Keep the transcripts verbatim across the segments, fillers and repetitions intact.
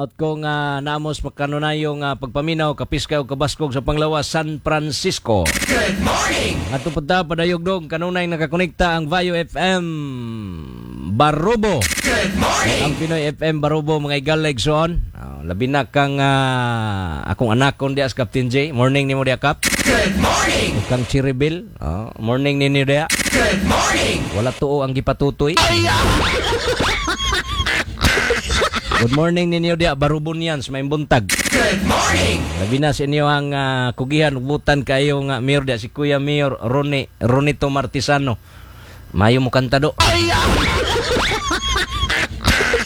Out ko nga namos makanunayo nga pagpaminaw kapiska o kabaskog sa Panglawas, San Francisco. Good morning. Ngadto pud ta padayugdog kanunay nakakonekta ang Vayo F M Barobo. Good morning. Ang Pinoy F M Barobo, mga higala igsoon. Uh, labi na kang ah, akong anak kon diya, Captain J. Morning nimo diya, Kap. Good morning. Ug kang Chiribil. Oh, morning ninyo diya. Good morning. Wala tuo ang gipatutoy. Good morning ninyo diya, Barubonians, may buntag. Good morning. Labi na sa inyo ang ah, kugihan ubutan kayo nga mayor diya, si Kuya Mayor Rone Ronito Martisano. Mayo mo kanta do.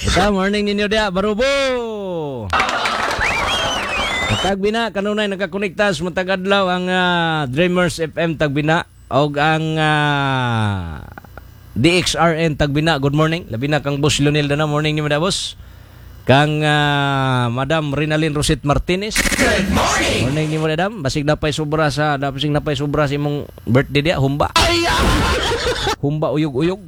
Ita, morning ninyo diya, Barubo. Tagbina, kanunay nakakonekta sa matag adlaw ang ah, Dreamers F M Tagbina og ang ah, D X R N Tagbina. Good morning. Labi na kang Boss Leonel Dana. Morning nimo da, boss. Kang ah, Madam Rinalyn Rosit Martinez. Good morning. Morning nimo, madam. Basig napay sobra sa basig napay sobra sa imong birthday diya, humba. Humba uyog-uyog.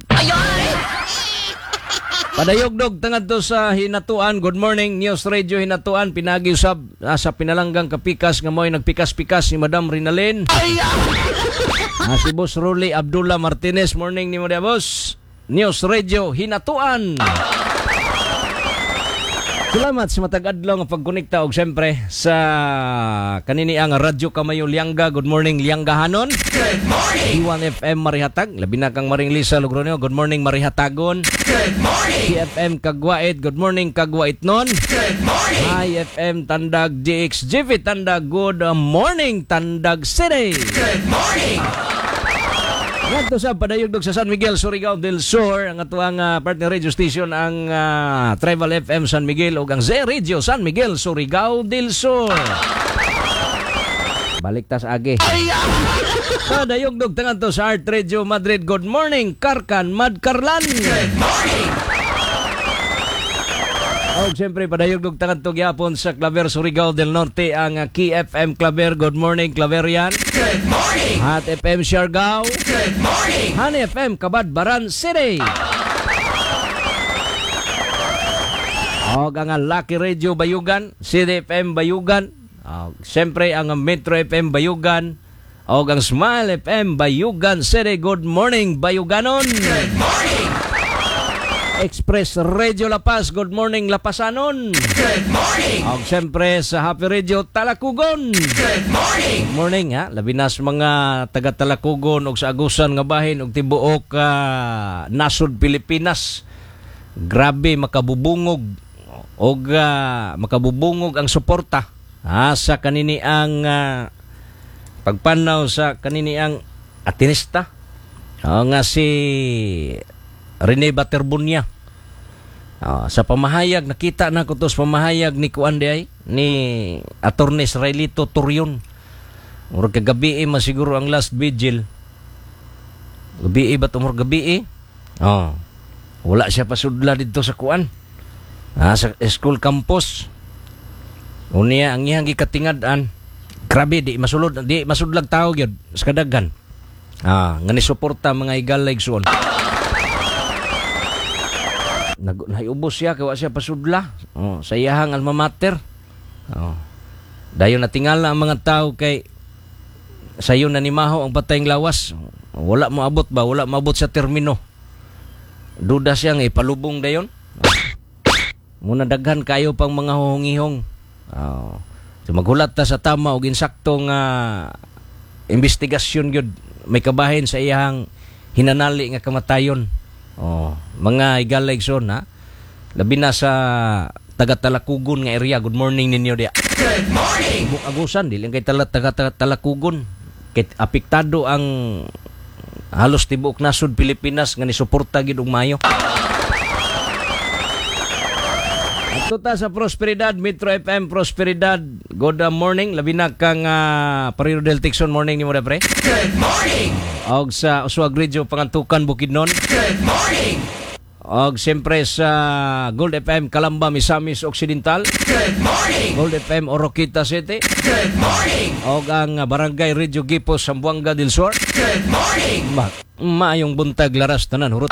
Padayogdog tangadto sa Hinatuan. Good morning, News Radio Hinatuan. Pinagi usab ah, sa pinalanggang kapikas nga mo'y nagpikas-pikas ni Madam Rinalyn. Ah, si Boss Rolly Abdullah Martinez. Morning nimo diya, boss. News Radio Hinatuan. Salamat sa matag adlaw nga pagkonekta og siyempre sa kanini ang Radyo Kamayo Lianga. Good morning, Lianggahanon. Good morning. D one F M Marihatag. Labi na kang Maring Lisa Logronio. Good morning, Marihatagon. Good morning. T F M Kagwait. Good morning, Kagwait nun. Good morning. Hi F M Tandag D X G V Tandag. Good morning, Tandag City. Good morning. Ngadto sa padayugdog sa San Miguel, Surigao del Sur, ang atuang uh, partner radio station ang ah, Tribal F M San Miguel ug ang Z Radio San Miguel, Surigao del Sur. Balik tas agi. Padayugdog tangadto sa Art Radio Madrid. Good morning, Karkan Madkarlan. Good morning. Og siyempre padayugdog tangadto gyapon sa Claver, Surigao del Norte ang uh, K F M Claver. Good morning, Claverian. Good morning. Hot F M Siargao. Good morning. Honey F M Cabadbaran City. Og ang Lucky Radio Bayugan, City F M Bayugan, og siyempre ang Metro F M Bayugan, og ang Smile F M Bayugan City. Good morning, Bayuganon. Good morning. Express Radio La Paz, good morning, Lapasanon. Good morning. Og siyempre sa Happy Radio Talakugon. Good morning. Good morning ha, labi na sa mga taga Talakugon og sa Agusan nga bahin og tibuok ah, nasod Pilipinas. Grabe makabubungog og ah, makabubungog ang suporta ha, sa kanini ang ah, pagpanaw sa kanini ang atinista. O, nga si Rene Baterbonia. Ah, sa pamahayag, nakita na ko to sa pamahayag ni kuan diay, ni Attorney Israelito Torion. Murag kagabi eh, masiguro ang last vigil. Gabi eh, ba't umur gabi eh? Oh. Wala siya pasudla dito sa kuan. Ah, sa school campus. Unya ang iyang gikatingad-an. Grabe di masulod, di masudlag tao gyud sa kadaghan. Ah, nga ni suporta, mga higala igsuon. Nag naiubos siya kay wa siya pasudla. Oh, sa iyahang alma mater. Oh. Dayon natingala ang mga tao kay sayo na nimaho ang patayng lawas. Wala moabot ba? Wala moabot sa termino. Duda siya nga ipalubong dayon. Muna daghan kayo pang mga huhungihong. Oh. So maghulat ta sa tama og insakto nga investigasyon gyud may kabahin sa iyang hinanali nga kamatayon. Oh, mga higala igsoon ha. Labi na sa taga Talakugon nga area. Good morning ninyo diya. Good morning. Tibuok Agusan dili kay tala taga, taga Talakugon. Kay apektado ang halos tibuok nasod Pilipinas nga nisuporta gid og maayo. Adto ta sa Prosperidad, Metro F M Prosperidad. Good morning. Labi na kang uh, Pariro del Tixon. Morning nimo pre. Good morning. Og sa Uswag Radio Pangantukan Bukidnon. Good morning. Og siyempre sa Gold F M Calamba, Misamis Occidental. Good morning. Gold F M Oroquieta City. Good morning. Og ang Barangay Radio Gipos, Zamboanga del Sur. Good morning. Ma maayong buntag laras tanan hurot.